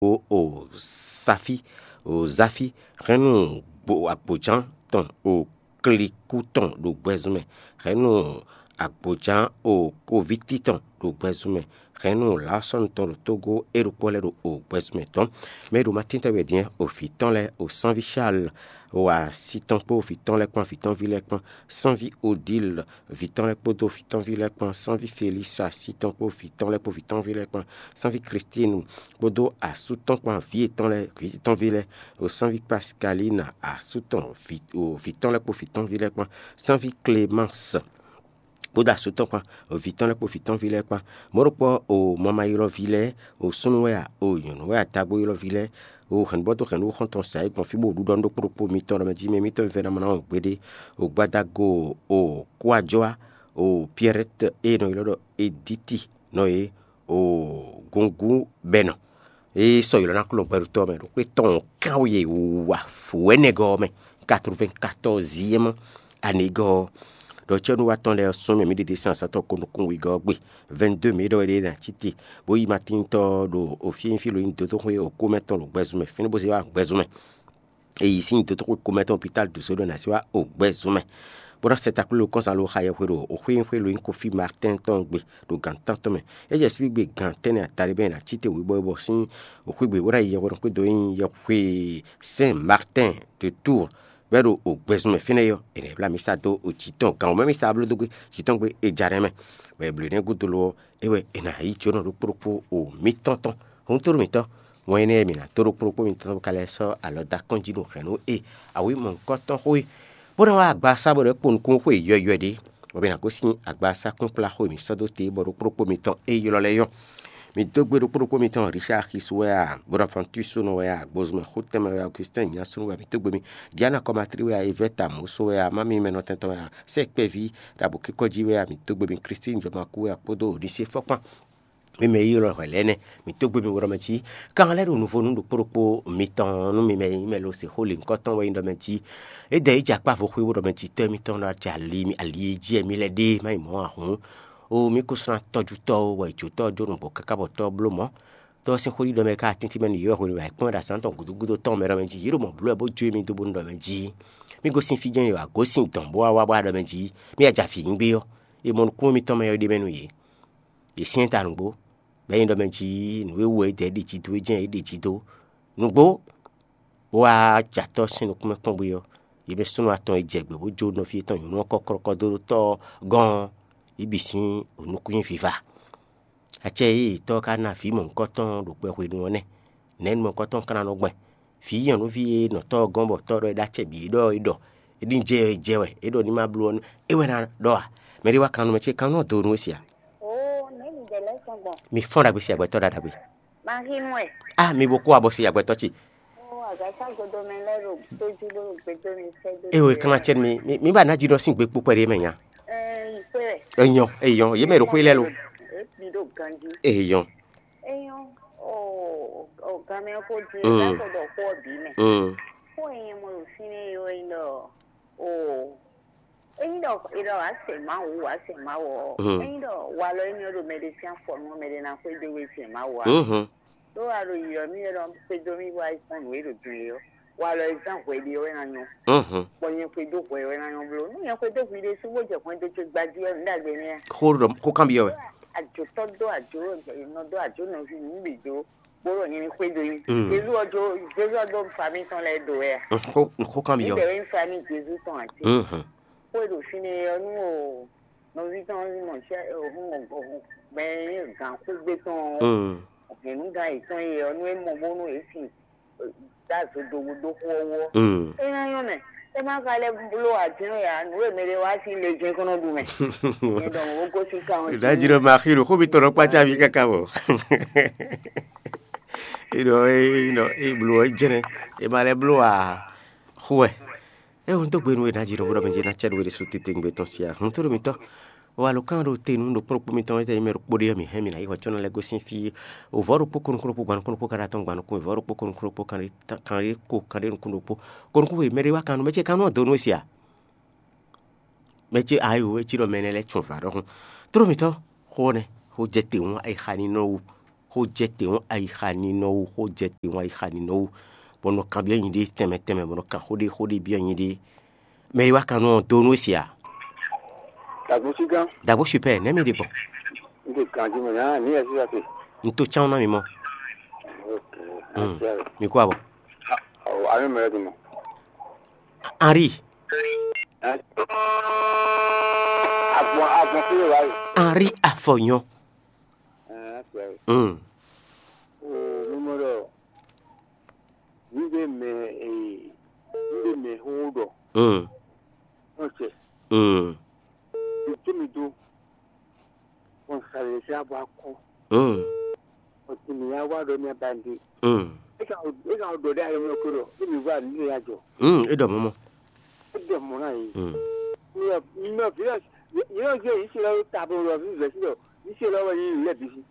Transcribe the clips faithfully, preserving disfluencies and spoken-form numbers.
o o safi o zafi hɛn nú gbo agboján tɔn o kliku tɔn ɖo gbɛzun mɛ, hɛn nú agboján o koviti tɔn ɖo gbɛzun mɛ, hɛn nú lǎsɔ́nu tɔn ɖo tógó é ɖokpó lɛ́ɛ ɖo o gbɛzun mɛ tɔn. Mɛ e ɖo Matín tɔn wɛ din o vǐ tɔn lɛ́ɛ o sánví Charles o asi tɔn kpó vǐ tɔn lɛ́ɛ kpán vǐ tɔn ví lɛ́ɛ kpán, sánví Odile vǐ tɔn lɛ́ɛ kpódó vǐ tɔn ví lɛ́ɛ kpán, sánví Felisa asi tɔn kpó vǐ tɔn lɛ́ɛ kpó vǐ tɔn ví lɛ́ɛ kpán, sánví Klistinu kpódó asú tɔn kpán vǐ yětɔn lɛ́ɛ vǐ tɔn ví lɛ́ɛ, o sánví Paskalina asú tɔn vǐ o vǐ tɔn lɛ́ɛ kpó vǐ tɔn ví lɛ́ɛ kpán, sánví Klemansi kpódó asú tɔn kpán vǐ tɔn lɛ́ɛ kpó vǐ tɔn ví lɛ́ɛ kpán. Mɔ̌ ɖokpó o mama ylɔ́ví lɛ́ɛ, o súnnu wɛ a, o nyɔ̌nu wɛ a, dagbó ylɔ́ví lɛ́ɛ, o hɛ̌nbɔ́ dó hɛ̌nnu xɔ́ntɔn sa é gbɔn fí bó ɖuɖɔ nú ɖokpó ɖokpó mitɔn ɖɔ mɛ jí mɛ mitɔn vɛ́ ná mɔ ná wɔn gbeɖé. O gbadago o kúajɔ́á o Pyɛrɛ́t e nɔ ylɔ́ ɖɔ Edíti nɔ é o gungun bɛnɔ e sɔ́ ylɔ́ ná kplɔ́n gbɛɖutɔ́ mɛ ɖo xwé tɔn kánweyě wǔwá wɛ̌nɛgɔ́ ɔ́ mɛ, quatre-vingt-quatorzième anegɔ́ ɔ́, ɖɔ cɛ́núwatɔ́ lɛ́ɛ sɔ́ mɛ mǐ ɖe dé sín azǎn tɔn ko nukún wegɔ́ ɔ́ gbe. Vingt-deux mǐ ɖɔ wɛ ɖe ná cí te, bó yí Matíntɔ́ ɖo ofínyífí lo nyí dǒdóxwé okúmɛ tɔn ɖo gbɛzun mɛ, fínɛ́ bó zé wá gbɛzun mɛ. E yi sín dótóxwé komɛtɔn hôpitál dǒ só ɖɔ è nǎ sɛ́ wá ogbɛ́ zun mɛ, bó ná sɛ takló kɔ́nsan lo xa yɛhwe ɖo xwé e nyí xwé lo nyí Kofi Martɛ́n tɔn gbe ɖo gan tántɔn mɛ. É jɛ sín gbe gan tɛ́nnɛ adaɖé bɔ è nǎ cí te wěbɔwebɔ sín xwé gbe bó ná yi yɛhwe ɖokpó dó nyí yɛhwe Sɛn Martɛ́n de Túur, bɔ é ɖo ogbɛ́ zun mɛ fínɛ́ é ɔ́, è nǎ yi bló amǐsa dó jǐ tɔn gan wǒ mɛ amǐsa bló dó gbe jǐ tɔn gbe é ja nɛ́ mɛ, bɔ è blǒ énɛ́ gúdo lo ɔ́, é wɛ è nǎ yí jǒnɔ ɖokpó ɖokpó o mǐtɔn tɔn. Hǔntúɖu mǐtɔn, wɛn énɛ́ e mǐ ná dó ɖokpó ɖokpó mitɔn bó ka lɛ́ sɔ́ alɔ dó akɔ́n jí ɖo hɛ̌nnu e awǐ mɔ̌hunkɔtɔn xó e, bó ná wá agbaza bó ɖɔ é kpo nukún xó e yɔywɛ ɖé, bɔ mǐ ná gosín agbaza kpínkplá xó e mǐ sɔ́ dó te bɔ ɖokpó ɖokpó mitɔn é ylɔ́ lɛ́ɛ nyɔ́. Mi dó gbe ɖokpó ɖokpó mitɔn Richard Xis wɛ a, Bonaventure Sónɔ wɛ a, Gbozumɛ Xotɛnmɛ wɛ a, Augustin Nyasunu wɛ a, mi dó gbe mi, Diana Kɔmatri wɛ a, Evɛta Mɔso wɛ a, Mami Mɛnɔtɛntɔ wɛ a, Sɛkpɛví ɖo abǒkíkɔ́ jí wɛ a, mi dó gbe mi, Christine Jɔmaku wɛ a, kpódó Onisíe Fɔkpán. Mi mɛ e ylɔ́ hwɛ lɛ́ɛ nɛ́, mǐ dó gbe mi bo ɖɔ mɛ jí. Kan lɛ́ɛ ɖo nuvo nú ɖokpó ɖokpó mitɔn nú mi mɛ e nyí mɛ lo se xó lě nyǐkɔ tɔn wɛ nyí ɖɔ mɛ jí. É dɛ yi jɛ akpá vo xwé bó ɖɔ mɛ jí tɔ́ émítɔn ɖo acɛ ali ali e jí wɛ mǐ lɛ́ ɖe má nyí mɔ̌ ǎ hǔn. Oo, mǐ ko sú ná tɔ́jú tɔ́ ó, wɛ è jó tɔ́ ɔ́ jó nǔgbó káká bɔ tɔ́ ɔ́ bló mɔ̌. Tɔ́ ɔ́ sín xó ɖiɖɔ mɛ ká tíntí mɛ nú yě wɛ hwenu e è kpɔ́n ɖo azǎn tɔn gǔdo gúdo tɔn mɛ ɖɔ mɛ jí. Yě ɖo mɔ̌ bló wɛ bó jó émí dó bónú ɖɔ mɛ jí. Mí gosín fí jɛ́n ɖo agǒsin dɔ̌n bó wá wá bó wá ɖɔ mɛ jí. Mí yi aja vǐ nyi gbé ɔ́, e mɔ nukúnnú mitɔn mɛ ɔ́ ɖe mɛ nú yě. Yě syɛ́n ta nǔgbó, bɔ é nyí ɖɔ mɛ jí nǔ e wú wɛ é dɛ é ɖe jí dó é jɛ́n é ɖe jí dó. Nǔgbó, bó wá jɛ atɔ́ sín nukún mɛ kpɔ́n gbé ɔ́, yě mɛ súnnu atɔn e jɛ gbě bó jó nɔví yětɔn nyɔ̌nu ɔ́ kɔ́kɔ́kɔ́ dó ɖó tɔ́ ɔ́ gɔ́n ɔ́, yě bǐ sín nukún nyi viva. Acɛ e tɔ́ ɔ́ ka ná vǐ mɔ̌hunkɔtɔn ɖo kpɛxwenu ɔ́ nɛ́. Nɛ̌ nu mɔ̌hunkɔtɔn ka ná nɔ gbɛn? Vǐ nyɔ̌nuví e nɔ tɔ́ ɔ́ gɔ́n bɔ tɔ́ ɔ́ ɖɔ é ɖó acɛ bǐ é ɖɔ é ɖɔ é ɖi jɛ jɛ wɛ é ɖɔ ní ma bló ɔ́, é wɛ ná ɖɔ a? Mɛ ɖé wá kan nú mɛ ce kan nɔ do nú we sia? Oo, nɛ̌ mi ɖe lɛ́ sɔn gbɔn? Mi fɔ́n ɖagbe si agbɛtɔ́ ɖaɖagbe. Mahin wɛ. A mi bo kó abɔ si agbɛtɔ́ ce. Oo, agasa godo mɛ lɛ́ ɖo tójú bó ɖo gbedó mi sɛ́ dó. Ewɔ kan na cɛ mi mi mi ba ná jí ɖɔ sín gbe kpókpɛ ɖé mɛ nya. Ɛɛ, yi xwé wɛ. Eyɔn eyɔn yé mɛ ɖo xwé lɛ lo. Ebi ɖo ganji. Eyɔn. Eyɔn. Oo, o gamɛ ko di. Mm. Ɛla ko ɖɔ xó ɔ́ bǐ mɛ. Mm. Xó e nyɛ mɔ ɖo fínɛ́ é wɛ nyí ɖɔ, oo, ényí ɖɔ è ɖɔ wǎ sɛ Mawu, wǎ sɛ Mawu ɔ́, Mm. Ényí ɖɔ walɔ énɛ́ ɔ́ ɖo mɛɖé sín afɔ nú ɔ́, mɛɖé ná xwedó we sɛ Mawu ǎ. Mhm. Ɖó a ɖo yiyi ɔ́, mì wɛ nɔ xwedó mì bɔ a yi kpɔ́n nǔ e ɖo din é ɔ́. Walɔ e zán hwɛɖe ɔ́ wɛ ná nyɔ́. Mhm. Bɔ nyɛ xwedó hwɛ wɛ ná nyɔ́ bló. Nú nyɛ xwedó hwi ɖésú bó jɛ hwɛndo ce gbají ɔ́, nǔ ɖagbe nɛ́ a? Xó ɖɔ xó kanbyɔ́ wɛ. Ajotɔ́ dó ajo, nɔ dó ajo nɔví nǔ bǐ dó, bó ɖɔ nyɛ ní xwedó nyí. Mm. Jezu ɔ́ jó, Jezu ɔ́ dó fa mítɔn lɛ́ɛ do wɛ a? Mm, xó xó kanbyɔ́. Níbẹ̀ wɛ ń fa ní Jezu tɔn àti. Mhm. Xó e ɖo fínɛ́ ɔ́ nú o nɔví tɔn ɔ́ mɔ sɛ o hun o hun mɛ gǎn xwégbé tɔn ɔ́. Mm. Hɛ̌nnugán yětɔn e ɔ́ nú é mɔ bónú é sin dá zodowu dó xó ɔ́ wú ɔ́. Mm. É ná nyɔ́ mɛ. É má ka lɛ́ bló ǎ jɛ́n ǎ, nǔ e mɛɖé wá sín le jɛ́n kɔn nɔ ɖu mɛ. Nyɛ ɖɔ mɔ̌ bó gosín kan ɔ́. Ìdájí ló máa xí ɖo xó mitɔn nɔ kpácá mi káká bɔ. Ìɖɔ é bló ɔ́ jɛ́nɛ. È ma lɛ́ bló ǎ. Xó wɛ. É wú dó gbe nú we ná jí ɖokpó ɖɔ mɛ jí ná cɛ ɖo we ɖésú titewungbe tɔn sí ǎ. Hun tó ɖo mitɔ́. Wa lo kán ɖo te nú ɖokpó ɖokpó mitɔn e tɛ nyí mɛ ɖokpó ɖé ɔ́, mǐ hɛn mǐ ná yi hɔ có ná lɛ́ gosín fí. Vɔ̌ ɖokpó ko nukún ɖokpó gban nukún ɖokpó kanɖa tɔn gban nukún, vɔ̌ ɖokpó ko nukún ɖokpó kanɖa kanɖa ko kanɖa nukún ɖokpó. Ko nukún we mɛ ɖé wá kan nú mɛ ce kan nú ɔ́ dó nú we se ǎ. Mɛ ce ayo é cí ɖɔ mɛ énɛ́ lɛ́ɛ tún vǎ ɖɔhun. Tló mitɔ́, xó ɔ́ nɛ́, xó jɛ te hǔn é xa ní nɔ wú. xó jɛ te hɔn ayixa ninɔ wú, xó jɛ te hɔn ayixa ninɔ wú, bɔ nɔ kanbyɔ́ nyi ɖé tɛnmɛ tɛnmɛ, bɔ nɔ kan xó ɖé xó ɖé byɔ́ nyi ɖé. Mɛ e wá kan nú ɔ́ dó nú é se ǎ. Dagbo sí gán. Dagbo super, nɛ̌ mi ɖe gbɔn? N ɖe ganjí mɛ, nǎ ní ɛsí ase. N tó cán ná mi mɔ. Ok. Hmm. Ɛsí ase. Mi kó abɔ. Ɔ, anu mɛ lɛ dun mɔ. Henri. Agbɔn agbɔn fi wá yi. Henri Afɔnyɔ. Ɛɛ, ɛsí ase. Hmm. O mímɔ ɖɔ. Ní ɖe mɛ ee, ní ɖe mɛ xó ɖɔ. Hmm. Ɔn cɛ. Hmm. Tó mi dó. Bɔn sàlẹ̀ sí abọ́ akɔ. Mm. Ọtí mi yá wá ɖɔ mi agbande. Mm. E ka e ka ɖɔ ɖe ayé mi ko ɖɔ. E mi wá ní ya jɔ. Mm. E ɖɔ mɔmɔ. E ɖɔ mɔ na yi. Mm. Mi ɔ mi ɔ fi lɛ yi ɔ jɛ yi si lɛ ta bo lɔ fi vɛ si lɔ yi si lɛ wɛ yi lɛ bi si.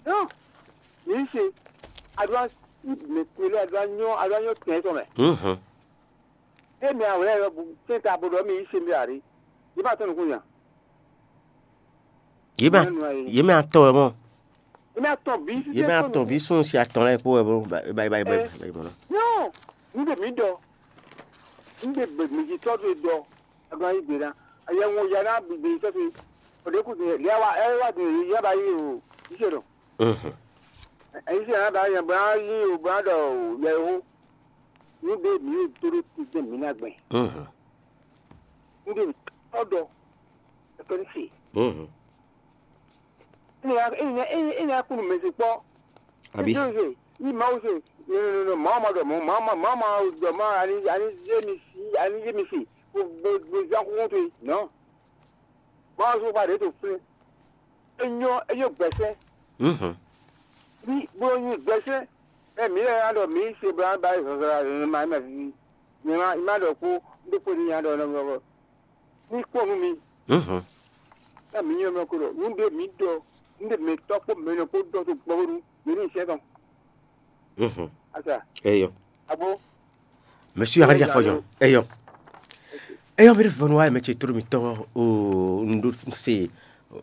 Non. Yi si. Aɖua mi kpe lɛ aɖua nyɔ aɖua nyɔ tɛn sɔ mɛ. Mhm. Emi awlɛ yɔ bu sɛn ta bo ɖɔ mi yi se mi ari. Yi ma tɔn nukun nya. Yě mɛ yě mɛ atɔn wɛ mɔ. Yi ma tɔn bi. Yě mɛ atɔn bi sún si atɔn lɛ kpó wɛ bó ba ba ba ba ba. Non, nu de mi dɔ. Nu de be mi ji tɔ do dɔ. Agbọn yi gbe na. Ayɛ ŋun ya na bi bi tɔ fi. O de ku de ya wa ɛ wa de ya ba yi o. Yi se dɔ. Mhm. Yi se na ba ya ba yi o ba dɔ ya ho. Nu ɖé mǐ ɖo dó ɖó tɛ́ntin mǐ ná gbɛn. Mhm. Nu ɖé tɔ́ ɖɔ, é kɔ ní se. Mhm. É ná é ná é ná kú nú mɛ se kpɔ́. Àbí? Ní Mawu se, ní ní ní Mawu ma ɖɔ mɔ̌, Mawu ma Mawu ma ɖɔ mɔ̌, ani ani yé mi si, ani yé mi se, bo bo bo zán kúkú towe, nɔ̌. Mawu sɔ́ xá ɖě to flɛ́. É nyɔ́ é nyɔ́ gbɛ̌sɛ́. Mhm. Ní bó nyí gbɛ́sɛ́, ɛ mǐ lɛ́ɛ ná ɖɔ mǐ se blá ba zɔnzɔnla zɔnzɔnla ma ma vivi. Nyɛ ma ma ɖɔ kpó ɖó kpó ní nya ɖɔ nɔ nɔ ní kpɔ́n nú mi. Mhm. Ɛ mǐ nyɔ́ mɛ ko ɖɔ nú ɖé mǐ ɖɔ nú ɖé mǐ tɔ́ kpó mɛ nɔ kpó ɖɔ tó gbɔ bónú mǐ ní sɛ́ tɔn. Mhm. Asa. Eyɔ. Abo. Mɛsú yà ká dí afɔ yɔ. Eyɔ. Eyɔ mi ɖe vɔnu wa mɛ ce tló mi tɔ o un ɖó se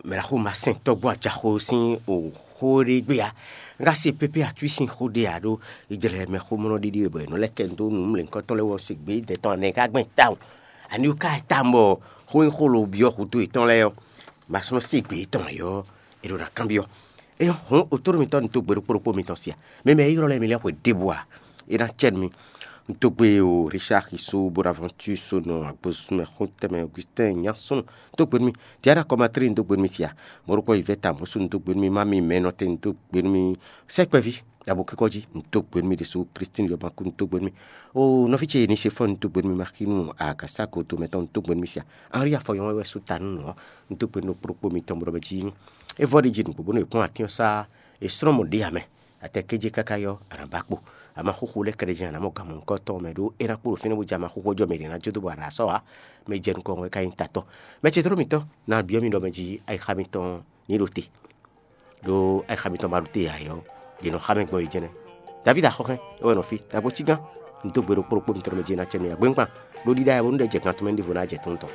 mɛ la xo ma sɛn tɔgbɔ ajaxo sín o xó ɖé gbé ya. N ka se pépé atú sín xó ɖé ya ɖó ìjlɛ mɛ xó mɔnɔ ɖiɖi bɔ è nɔ lɛ kɛ dó nǔ mlɛnkɔtɔ lɛ wɔ se gbé dɛ tɔn nɛ ká gbɛn tawun. Ani wú ká tawun bɔ xó nyí xó lo byɔ́ xutó yětɔn lɛ́ɛ ɔ́, ma sɔ́ se gbé tɔn yɔ è ɖo ná kanbyɔ́. Eyɔ hɔn otoro mitɔn ní dó gbe ɖokpó ɖokpó mitɔn sia. Mɛ mɛ e ylɔ́ lɛ́ɛ mi lɛ́ɛ xwe ɖěbǔ a? É ná cɛ nú mi. Un dó gbe o Richard Xiso, Bonaventure Sonɔ, Agbosumɛ Xotɛmɛ, Augustin Nyasɔn, dó gbe nú mi. Diana Kɔmatri un dó gbe nú mi sia. Mɔɖokpɔ Yvette Amosu un dó gbe nú mi. Mami Mɛnɔte un dó gbe nú mi. Sɛkpɛví Abokíkɔ́jí un dó gbe nú mi ɖésú. Christine Yɔbankú un dó gbe nú mi. O nɔví ce Nisefɔ́n un dó gbe nú mi. Maxinu Agasa Godomɛtɔn un dó gbe nú mi sia. Henri Afɔyɔn wɛ sú ta nú nǔ ɔ́. Un dó gbe nú ɖokpó ɖokpó mitɔn bɔ mɛ jí é vɔ ɖi jí nǔgbó bónú è kpɔ́n atín ɔ́ sá è slɔ́n mɔ ɖě ǎ mɛ. Atɛ kéje káká yɔ, a nǎ ba kpo. A ma xóxó lɛ́ kɛɖɛjɛ a nǎ mɔ gan mɔ̌hunkɔtɔn mɛ ɖó é ná kpo ɖo fínɛ́ bó jɛ a ma xóxó jɔ mɛ ɖě ná jó dó bɔ a nǎ sɔ́ ǎ. Mɛ jɛ nukɔn wɛ ka nyí tatɔ́. Mɛ ce tló mitɔn ná byɔ́ mi ɖɔ mɛ jí ayixa mitɔn ní ɖo te. Ɖó ayixa mitɔn ma ɖo te ǎ é ɔ́, ɖě nɔ xa mɛ gbɔn yi jɛnɛ. Davídi axɔ́xɛ́n é wɛ nɔ fí, dagbo cí gán. Un dó gbe ɖokpó ɖokpó mitɔn mɛ jí ná cɛ nú ya gbɛ́ngbán. Ɖó ɖíɖá yɛ bónú ɖɛ jɛ gan tɔn mɛ ní ɖěvo ná jɛ tɔn tɔn.